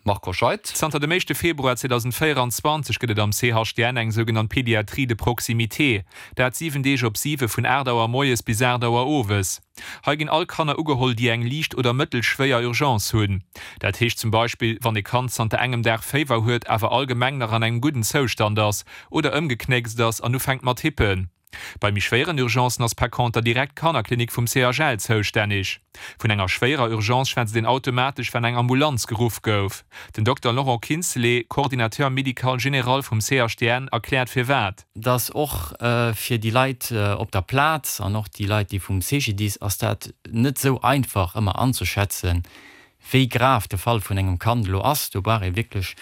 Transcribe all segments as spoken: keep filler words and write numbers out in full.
Marc Hoscheid. Zanter dem éischte Februar zweedausendvéieranzwanzeg gëtt et am C H D N eng sougenannt Pédiatrie de proximité. Dat siwen Deeg op siwe vun aacht Auer moies bis aacht Auer owes. Hei ginn all Kanner ugeholl, déi eng liicht oder mëttelschwéier Urgence hunn. Dat heescht zum Beispill, wann e Kand zanter engem Dag Féiwer huet, awer allgemeng nach an engem gudden Zoustand ass, oder ëmgeknéckst ass an ufänkt mat hippen. Bei méi schwéieren Urgencen ass par conter direkt d'Kannerklinik vum C H L zoustänneg. Vun enger schwéierer Urgence schwätzt een automatesch, wann eng Ambulanz geruff gouf. Den Dokter Laurent Kinsley, Coordinateur médical général vum C H D N, erkläert firwat. Dass och fir déi Leit op der Plaz an och déi Leit, déi vum C G D I S, ass dat net esou einfach ëmmer anzeschätzen, wéi grav de Fall vun engem Kand elo ass. Do brauch ee wierklech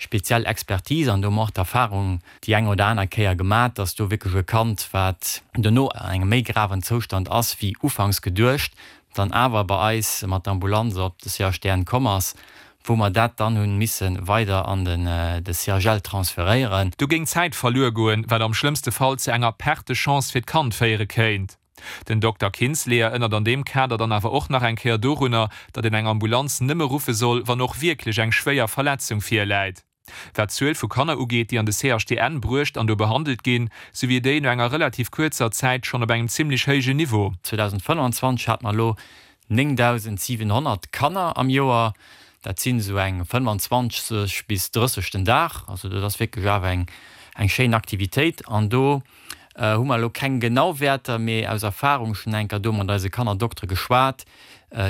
speziell Expertise an do hu mer och d'Erfahrung déi eng oder aner Kéier gemat, dass do wierklech e Kand, wat dono an engem méi graven Zoustand ass wéi ufanks geduecht, dann awer bei eis mat der Ambulanz op de C H D N komm ass, wou mer dat dann hu misse weider an de C H L transferéieren. Do géing Zäit verluer goen, wat am schlëmmste Fall zu enger Perte de chance fir d'Kand féiere kéint. Den Dokter Kinsley erënnert an deem Kader dann awer och nach eng Kéier dorunner, datt een eng Ambulanz nëmme ruffe soll, wann och wierklech eng schwéier Verletzung virläit. Wat d'Zuel vu Kanner ugeet, déi an de C H D N bruecht an do behandelt ginn, sou wier déi no enger relativ kuerzer Zäit schonn op engem zimmlech héijen Niveau. zweedausendfënnwanzwanzeg hate mer elo néngdausendsiwenhonnert Kanner am Joer, dat sinn esou eng fënnwanzwanzeg bis drësseg den Dag. Also dat ass wierklech awer eng eng schéin Aktivitéit. An do hu mer elo keng genau Wäerter, mee aus Erfahrung schonn eng Kéier do mat eise Kannerdoktere geschwat,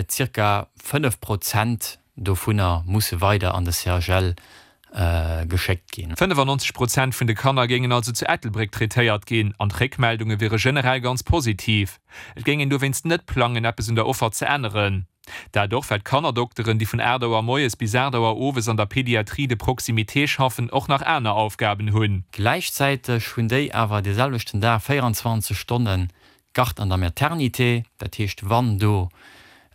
zirka fënnef Prozent dovunner musse weider an de C H L geschéckt ginn. fënnefannonzeg Prozent vun de Kanner géingen also zu Ettelbréck traitéiert ginn an d'Réckmeldunge wiere generell ganz positiv. Et géing een dowéinst net plangen, eppes un der Offer ze änneren. Dat och, well d'Kannerdokteren, déi vun aacht Auer moies bis aacht Auer owes an der Pédiatrie de proximité schaffen, och nach aner Aufgaben hunn. Gläichzäiteg hunn déi awer dee selwechten Dag véieranzwanzeg Stonne Garde an der Maternité. Dat heescht, wann do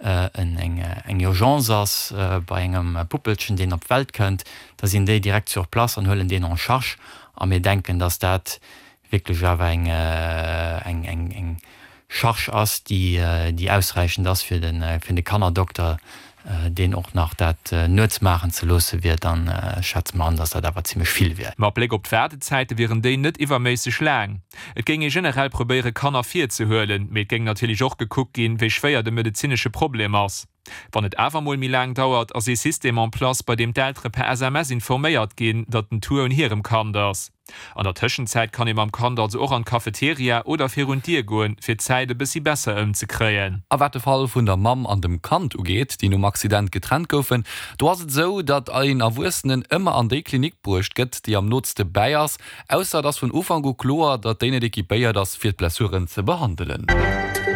eng Urgence ass bei engem Puppelchen, deen op d'Welt kënnt, da sinn déi direkt sur place an huelen deen en charge. A mir denken, dass dat wierklech awer eng Charge ass, déi ausräichend ass fir de Kannerdokter, deen och nach dat nuets maachen ze loosse wier, dann schätze mer an, dass dat awer zimlech vill wier. Mat Bléck op d'Waardezäite wieren déi net iwwerméisseg laang. Et géing ee generell probéiere Kanner virzehuelen, mee et géing natierlech och gekuckt ginn, wéi schwéier de medezinesche Problem ass. Wann et awer mol méi laang dauert, ass ee System en place, bei deem d'Eltere per S M S informéiert ginn, datt den Tour un hirem Kand ass. An der Tëschenzäit kann ee mam Kand also och an d'Cafeteria oder virun d'Dier goen, fir d'Zäit e bëssi besser ëmzekréien. A wat de Fall vun der Mamm an dem Kand ugeet, déi nom Accident getrennt goufen, do ass et esou, datt een Erwuessenen ëmmer an déi Klinik bruecht gëtt, déi am nootste bäi ass, ausser et ass vun Ufank u kloer, datt déi net equipéiert ass, fir d'Blessuren ze behandelen.